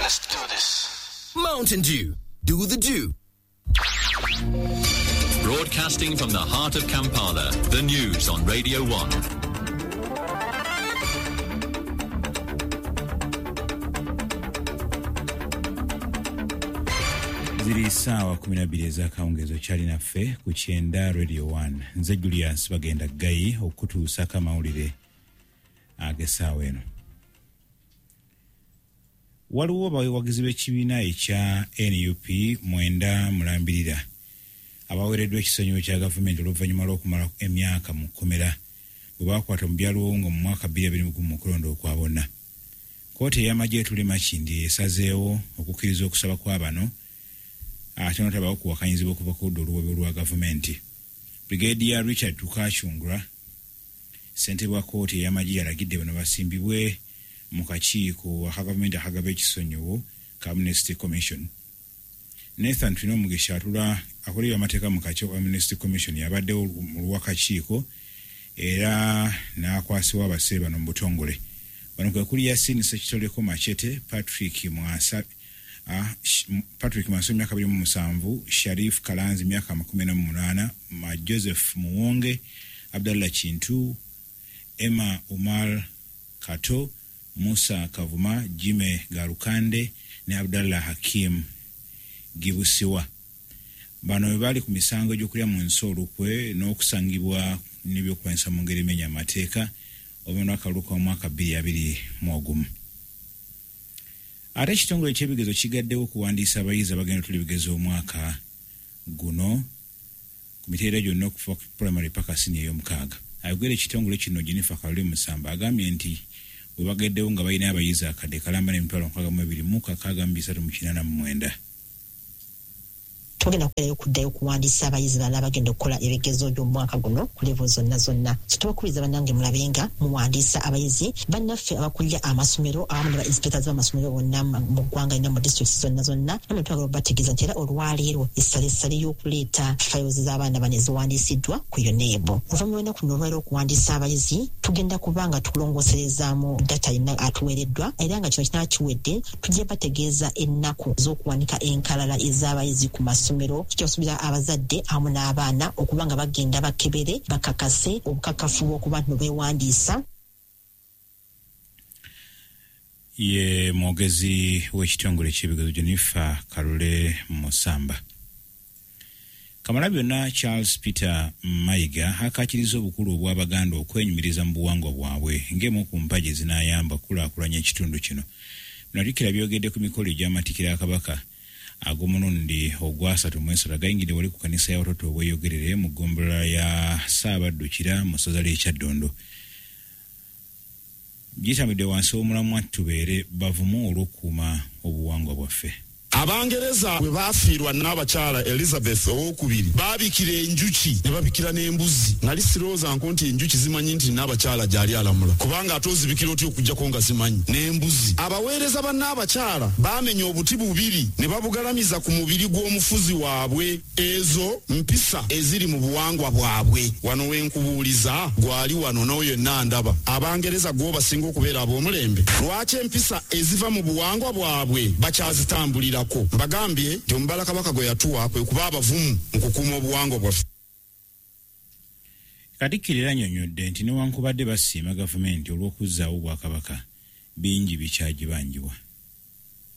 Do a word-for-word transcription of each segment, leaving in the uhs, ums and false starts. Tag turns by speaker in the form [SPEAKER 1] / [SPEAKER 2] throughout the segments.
[SPEAKER 1] Let's do this.
[SPEAKER 2] Mountain Dew. Do the dew.
[SPEAKER 3] Broadcasting from the heart of Kampala, the news on Radio one.
[SPEAKER 4] Ziri saawa kumi na bbiri ez'akawungeezi okyali naffe ku kyenda Radio one. Nze Julius Bagenda Ggayi okutuusako amawulire ag'essaawa eno. Waliwo abawagizi b'ekibiina ekya N U P mwenda mulambirira abaweereddwa ekisonyiwo kya gavumenti oluvannyuma lw'okumala emyaka mu kkomera bwe baakwata mu byalwongo mu mwaka bbiri abiri mu gumu mu kulonda okwa bonna. Kkooti ey'amagye etula e Makindye esazeewo okukkiriza okusaba kwa bano ate n'otabawo kuwakanyizibwa okuva ku ludda oluwabi lwa gavumenti. Brigadier Richard Tukachungura, ssentebe wa kkooti ey'amagye, yalagidde bano basimbibwe mu kakiiko aka gavumenti akagaba ekisonyiwo ka Amnesty Commission. Nathan Twinomugisha atula akolera amateeka mu kakiiko ka Amnesty Commission yabaddewo mu lw'akakiiko era n'akwasibwa abasibe bano mu butongole. Bano kwe kuli Yasin Ssekitoleko Machete, Patrick Mwasa, ah, Patrick Mwasa myaka abiri mu musanvu, Sharif Kalanzi myaka makumi ana mu munaana, Ma Joseph Muwonge, Abdallah Kintu, Emma Umar Kato, Musa Kavuma, Jime Garukande ne Abdallah Hakim Gibusiwa. Bano bwe bali ku misango egy'okulya mu nsi olukwe n'okusangibwa n'ebyokulwanyisa mu ngeri emenya amateeka oluvannyuma lw'akalulu k'omwaka bbiri abiri mu ogumu. Ate ekitongole ky'ebigezo kigaddewo okuwandiisa abayizi abagenda okutuula ebigezo omwaka guno ku mitendera gyonna okuva ku primary paka siniya ey'omukaaga. Ayogera ekitongole kino Jennifer Kalule Musamba agambye nti bwe bageddewo nga balina abayizi akadde kalamba n'emitwalo nkaaga mu ebiri mu kakaaga mu bisatu mu kinaana mu mwenda.
[SPEAKER 5] Tugenda kubeerayo okuddayo okuwandiisa abayizi balala abagenda okukola ebigezo by'omwaka guno ku level zonna zonna. So tubakubiriza bannange mulabe nga muwandiisa abayizi bannaffe abakulira amasomero awamu ne ba inspectors b'amasomero bonna mu ggwanga lina mu districts zonna zonna. Namwe twagala okubategeeza nti era olwaleero essalessale y'okuleeta files z'abaana bano eziwandiisiddwa ku UNEB. Oluvannyuma lw'ennaku luno olwaleero okuwandiisa abayizi tugenda kuba nga tukulongooserezaamu data yenna atuweereddwa, era nga kino kinaaba kiwedde tujja bategeeza ennaku z'okuwanika enkalala ez'abayizi ku masomero. Kikyasubira abazadde awamu n'abaana okuba nga bagenda bakebere bakakase obukakafu bw'okuba nti beewandiisa.
[SPEAKER 4] Ye mwogezi w'ekitongole ky'ebigezo Jennifer Kalule Musamba. Kamalabyonna Charles Peter Mayiga akaakiriza obukulu obw'Abaganda okwenyumiriza mu buwangwa bwabwe ng'emu ku mpagi ezinaayamba okukulaakulanya ekitundu kino. Bino Katikkiro byogedde ku mikolo egy'amatikkira ga Kabaka ag'omulundi ogwasatu mu esatu agayingidde wali ku kanisa ya Watoto Obweyogerere mu ggombolola ya Ssaabaddukira mu ssaza ly'e Kyaddondo. Gitambidde wansi w'omulamwa tubeere bavumu olw'okukuuma obuwangwa bwaffe.
[SPEAKER 6] Abangereza bwe baafiirwa n'abakyala Elizabeth owokubiri baabikira enjuki ne babikira n'embuzi. Nali sirowooza nko nti enjuki zimanyi nti n'abakyala gy'ali alamula, kubanga ate ozibikira otya okuggyako nga zimanyi n'embuzi. Abaweereza ba n'abakyala baamenya obuti bubiri ne babugalamiza ku mubiri gw'omufuzi waabwe. Ezo mpisa eziri mu buwangwa bwabwe. Wano we nkubuuliza gwali wano n'oyo yenna ndaba. Abangereza gwo basinga okubeera ab'omulembe. Lwaki empisa eziva mu buwangwa bwabwe bakyazitambulirako? Mbagambye nti omubala Kabaka gwe yatuwa kwe kuba abavumu mu kukuuma obuwangwa bwaffe.
[SPEAKER 4] Katikkiro era annyonnyodde nti newankubadde basiima gavumenti olw'okuzzaawo Obwakabaka, bingi bikyagibanjibwa.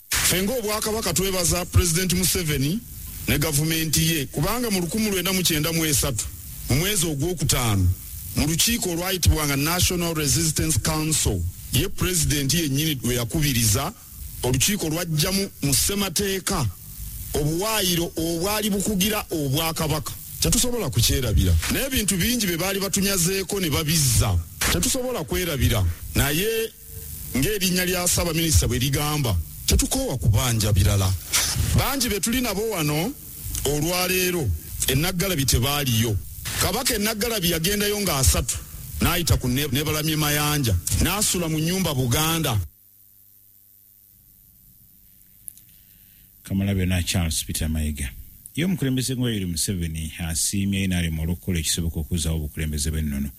[SPEAKER 6] Ffe ng'Obwakabaka twebaza Pulezidenti Museveni ne gavumenti ye, kubanga mu lukumi lwenda mu kyenda mu esatu mu mwezi ogwokutaano mu lukiiko olwayitibwanga National Resistance Council, ye pulezidenti yennyini lwe yakubiriza olukiiko lwajjamu mu ssemateeka obuwaayiro obwali bukugira Obwakabaka. Tetusobola kukyerabira. N'ebintu bingi bye baali batunyazeeko ne babizza, tetusobola kwerabira. Naye ng'erinnya lya Ssaabaminisita bwe ligamba, tetukoowa kubanja birala. Bangi be tuli nabo wano olwaleero Ennaggalabi tebaaliyo. Kabaka Ennaggalabi yagendayo ng'asatu n'ayita ku Nebalamye Mayanja n'asula mu nnyumba Buganda.
[SPEAKER 4] Kamalabyonna Charles Peter Mayiga. Ye omukulembeze Yoweri Museveni asiimye N R M olw'okukola ekisoboka okuzzaawo obukulembeze bw'ennono.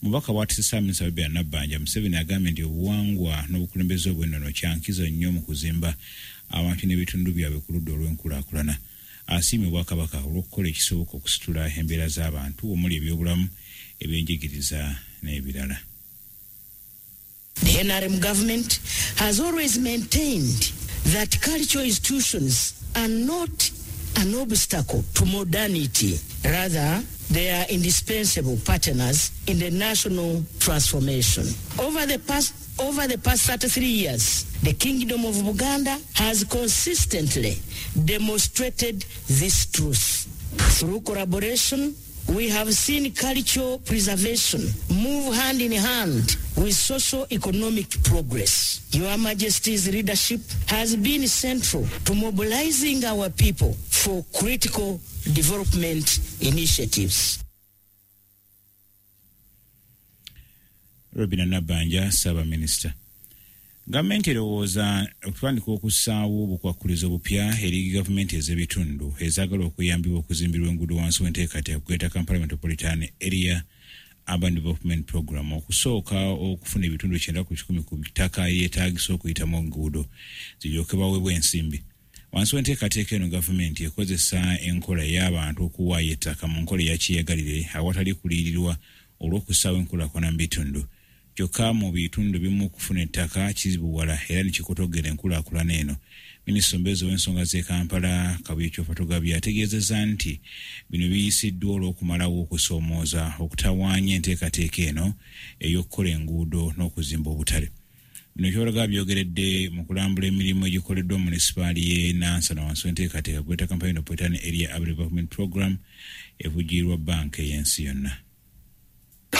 [SPEAKER 4] Mubaka bw'atisse Ssaabaminisita Robinah Nabbanja, Museveni agambye nti obuwangwa n'obukulembeze obw'ennono kya nkizo nnyo mu kuzimba abantu n'ebitundu byabwe ku ludda olw'enkulaakulana. Asiimye Obwakabaka olw'okukola ekisoboka okusitula embeera z'abantu omuli ebyobulamu, ebyenjigiriza n'ebirala.
[SPEAKER 1] The N R M government has always maintained that cultural institutions are not an obstacle to modernity. Rather, they are indispensable partners in the national transformation. Over the past, over the past thirty-three years, the Kingdom of Buganda has consistently demonstrated this truth. Through collaboration, we have seen cultural preservation move hand in hand with socio-economic progress. Your Majesty's leadership has been central to mobilizing our people for critical development initiatives.
[SPEAKER 4] Robina Nabbanja, Ssaabaminisita. Gavumenti erowooza okutandika okussaawo obukwakkulizo bupya eri gavumenti ez'ebitundu ezaagala okuyambibwa okuzimbirwa enguudo wansi w'enteekateeka Greater Kampala Metropolitan Area Urban Development Program okusooka okufuna ebitundu kyenda ku kikumi ku ttaka eryetaagisa okuyitamu enguudo ziryoke baweebwe ensimbi. Wansi w'enteekateeka eno gavumenti ekozesa enkola ey'abantu okuwaayo ettaka mu nkola eya kyeyagalire awatali kuliyirirwa olw'okussaawo enkulaakulana mu bitundu. Kyokka mu bitundu bimu okufuna ettaka kizibuwala era ne kikotogera enkulaakulana eno. Minisita omubeezi w'ensonga z'e Kampala Kabuye Kyofatogabye ategeezezza nti bino biyisiddwa olw'okumalawo okusoomooza okutawaanya enteekateeka eno ey'okukola enguudo n'okuzimba obutale. Bino Kyofatogabye byogeredde mu kulambula emirimu egikoleddwa mu munisipaali y'e Nansana wansi w'enteekateeka Greater Kampala Metropolitan Area Urban Development Program evujjirirwa bbanka ey'ensi yonna.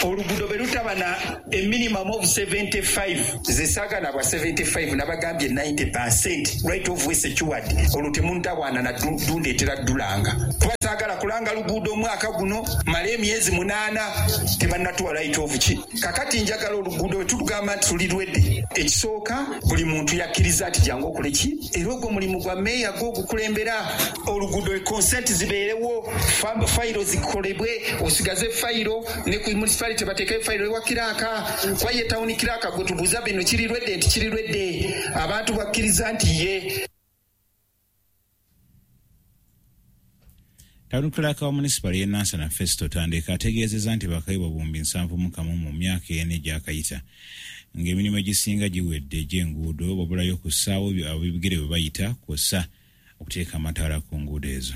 [SPEAKER 7] Oluguudo bwe lutaba na a minimum of seventy-five, ze saagala bwa seventy-five nabagambye ninety percent right of way secured, olwo temuntawaana na dundeetera ddulanga. Kuba saagala kulanga luguudo omwaka guno male emyezi munaana tebannatuwa right of ki. Kakati njagala oluguudo bwe tulugamba nti tuli lwedde, ekisooka buli muntu yakkiriza nti jangu okole ki, era ogwo omulimu gwa meeya gwo ogukulembera oluguudo, consent zibeerewo, fayiro zikolebwe, osigaze fayiro ne ku municipality tebateekayo fayiro ewa kiraaka, kuba ye tawuni kiraaka gwe tubuuza bino kiri lwedde nti kiri lwedde, abantu bakkiriza nti ye.
[SPEAKER 4] Tawuni clerk wa munisipaali y'e Nansana Festo Tandeka ategeezezza nti bakayibwa buwumbi nsanvu mu kamu mu myaka ena egyakayita ng'emirimu egisinga giwedde egy'enguudo wabulayo okussaawo ab'ebigere bwe bayita kw'ossa okuteeka amataala ku nguudo ezo.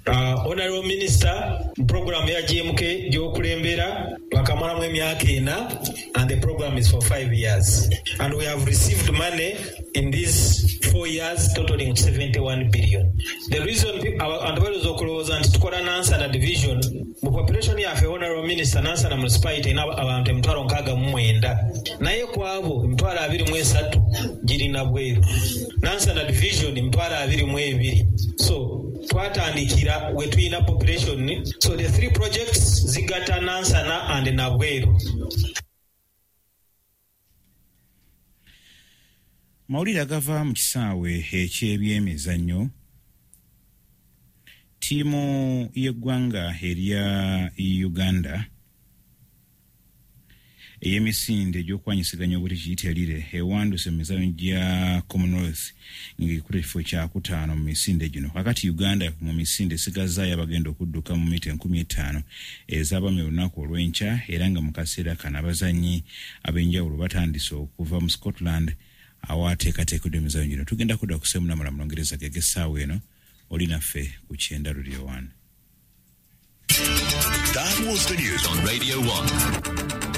[SPEAKER 8] Uh, Honorable Minister, program ya G M K gy'okulembera twakamalamu emyaka ena and the program is for five years. And we have received money in these four years totaling seventy-one billion. The reason abantu balowooza okulowooza nti tukola Nansana division, mu population yaffe Honorable Minister, Nansana municipality erina abantu emitwalo nkaaga mu mwenda, naye ku abo emitwalo abiri mu esatu girina bweru. Nansana division emitwalo abiri mu ebiri. So twatandikira we tulina population. So the three projects zigatta Nansana and Nabweru.
[SPEAKER 4] Mawulire agava mu kisaawe eky'ebyemizannyo, ttiimu y'eggwanga erya Uganda ey'emisinde egy'okwanyisiganya obuti kiyite Lire ewanduse mu mizannyo gya Commonwealth ng'ekutte ekifo kyakutaano mu misinde gino. Kakati Uganda mu misinde esigazaayo abagenda okudduka mu mita enkumi etaano ez'abaami olunaku olw'enkya, era nga mu kaseera kano abazannyi ab'enjawulo batandise okuva mu Scotland awateekateekeddwa emizannyo gino. Tugenda kudda ku Ssemunamala mu Lungereza gege essaawa eno, oli naffe ku Kyenda Radio one.
[SPEAKER 3] That was the news on Radio one.